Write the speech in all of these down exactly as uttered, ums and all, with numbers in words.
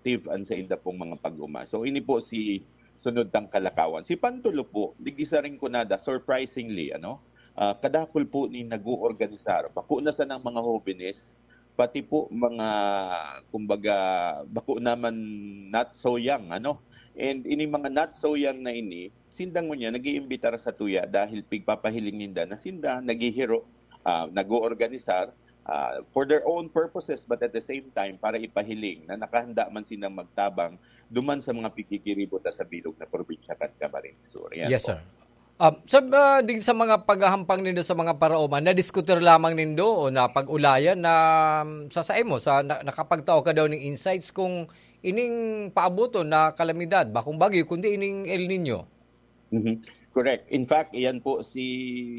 live an sainda pong mga pag-oma. So, ini po si sunod tang kalakawan. Si Pantulo po, digdi sa Rinconada, surprisingly, ano, ah, kadakul po ni nag-oorganisar. Bako na sanang mga hobenes, pati po mga, kumbaga, bako naman not so young, ano. And ini mga not so young na ini, sinda ngunyan nag-iimbitar sa tuya dahil pigpapahiling ninda na sinda naghihiro, ah, nag-oorganisar, ah, for their own purposes, but at the same time, para ipahiling na nakahanda man sindang magtabang duman sa mga pigigiribo ta sa bilog na probinsya kan Camarines Sur. Yan Yes, po. sir. Um, sir, ah, dig sa mga paghahampang nindo sa mga paraoma, nadiskutir lamang nindo o napag-ulayan na, um, sa saimo, sa na, nakapagtao ka daw ning insights kung ining paabuton na kalamidad, bakong bagyo, kundi ining El Niño? Mhm. Correct. In fact, iyan po si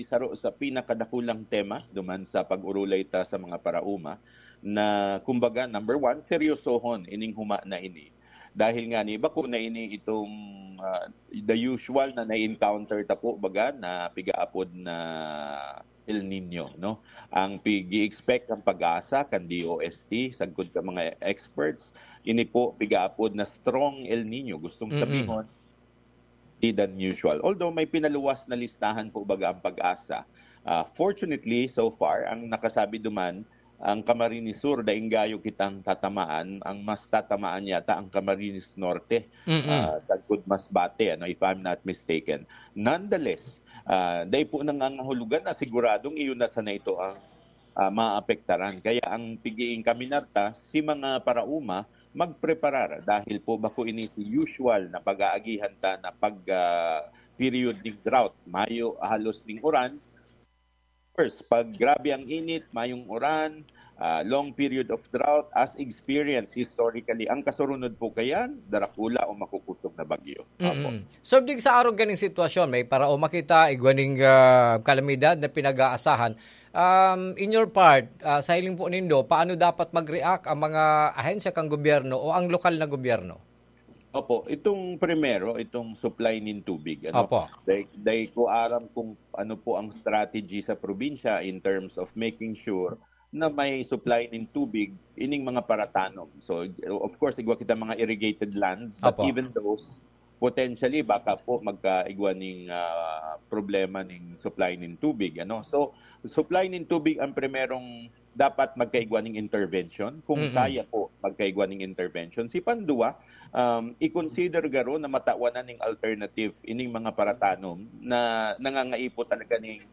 saro sa pinakadakulang tema duman sa pag-urulay ta sa mga paraoma na, kumbaga, number one, seryosohon ining huma na ini. Dahil nga ni bako na ini itong, ah, the usual na na-encounter ta po, baga, na pigaapod na El Niño, no? Ang pigi-expect ang PAGASA, kan D O S T, sagkod ka mga experts, ini po pigaapod na strong El Niño. Gustong Mm-mm. sabihon, di than usual. Although may pinaluwas na listahan po, baga, ang PAGASA. Ah, fortunately, so far, ang nakasabi duman, ang Camarines Sur, daing gayo kitang tatamaan. Ang mas tatamaan yata ang Camarines Norte, Mm-mm. ah, sagkod Masbate, ano, if I'm not mistaken. Nonetheless, ah, dai po nangangahulugan na siguradong iyon na sana ito ang, ah, maapektaran. Kaya ang pigiing kaminarta, si mga parauma, magpreparar dahil po bako ini si usual na pag-aagihan ta na pag, ah, period ning drought. Mayo halos ning uran. First, pag grabe ang init, mayong uran, ah, long period of drought, as experience historically, ang kasurunod po kayan, darakula o makukusog na bagyo. Opo. Mm-mm. So, dig sa arog kaning sitwasyon, may paraoma kita, igwa ning, ah, kalamidad na pinag-aasahan. Um, in your part, ah, sa hiling po nindo, paano dapat mag-react ang mga ahensya kang gobyerno o ang lokal na gobyerno? Opo, itong primero, itong supply nin tubig, ano? Opo. Dai, dai ko aram kung ano po ang strategy sa probinsya in terms of making sure na may supply nin tubig ining mga paratanom. So, of course, igwa kita mga irrigated lands, but Opo. even those, potentially, baka po magkaigwa ning, ah, problema ning supply nin tubig, ano? So, supply nin tubig ang primerong dapat magkaigwa ning intervention. Kung Mm-mm. kaya po, magkaigwa ning intervention. Si pandua, um, i-consider garo na matawan na ning alternative ining mga paratanom na nangangaipo talaga ning,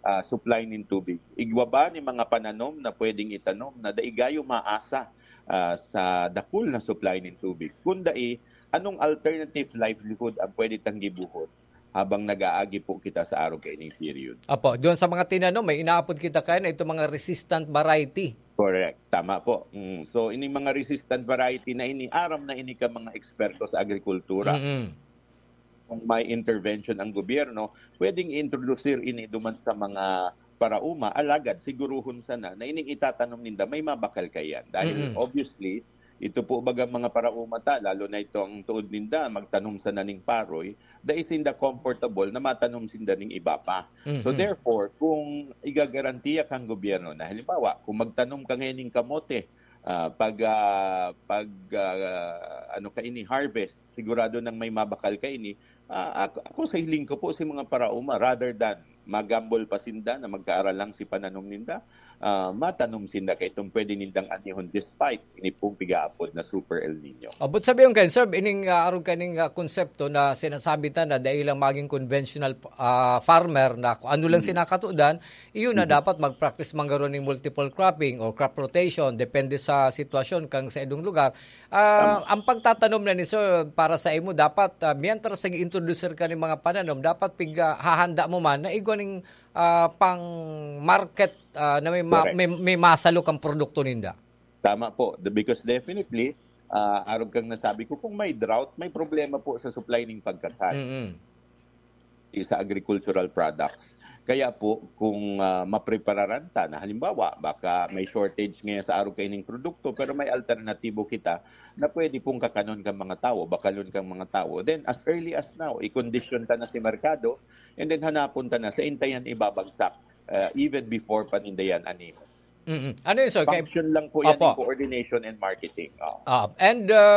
ah, supply nin tubig. Igwa ba ni mga pananom na pwedeng itanom na dai gayo maasa, ah, sa dakul na supply nin tubig? Kung dai, anong alternative livelihood ang pwede tang gibuhon habang nag-aagi po kita sa arog kaining period? Apo, doon sa mga tinanom, may inaapod kita kaya na itong mga resistant variety. Correct. Tama po. Mm. So, ining mga resistant variety na ini, aram na ini ka mga eksperto sa agrikultura. Mm-mm. Kung may intervention ang gobyerno, pwedeng i-introduce ini duman sa mga parauma, alagad siguruhon sana na ining itatanom ninda may mabakal kayan. Dahil Mm-mm. obviously, ito po baga mga parauma ta, lalo na ito ang tuod ninda, magtanom sana ning paroy, dai sinda comfortable na matanom sinda ning iba pa. So Mm-mm. therefore, kung igagarantiya kang gobyerno na halimbawa, kung magtanom ka ngayon ning kamote, ah, pag, ah, pag, ah, ano ka ini, harvest, sigurado nang may mabakal ka ini. Ah, ako, ako sa hiling ko po si mga parauma, rather than magambol pa sinda na magkaaral lang si pananom ninda, ah, matanom sinda kay itong pwede nindang anihon despite ini pong pigaapod na Super El Nino. Abot sabi yung kayo, sir, ining, ah, arog kaning, ah, konsepto na sinasabi ta na dahil lang maging conventional, ah, farmer na kung ano lang Mm. sinakatudan, iyon na Mm. dapat mag-practice man garo ning multiple cropping or crop rotation, depende sa sitwasyon kang sa idong lugar. Ah, Tama. Ang pagtatanom na ni sir para sa imo, dapat, ah, mientras nag-introducer ka ng mga pananom, dapat pig, ah, hahanda mo man na igwa ning, ah, pang market, ah, na may ma-, Correct. may, may masalo kang produkto ninda. Tama po. The, because definitely, ah, arog kang nasabi ko, kung may drought, may problema po sa supply ng pagkakan. Mm-mm. Sa agricultural products. Kaya po, kung, ah, maprepararan ta na halimbawa, baka may shortage ngayon sa arog kaining produkto, pero may alternatibo kita na pwede pong kakanon kang mga tao, bakalon kang mga tao. Then, as early as now, i-condition ta na si merkado, and then hanapon ta na sa intayan ibabagsak, ah, even before panindayan ani. Mm-mm. Ano yun, sir? Kay Function lang po yan Opo. ng coordination and marketing. Oh. Ah, and, uh,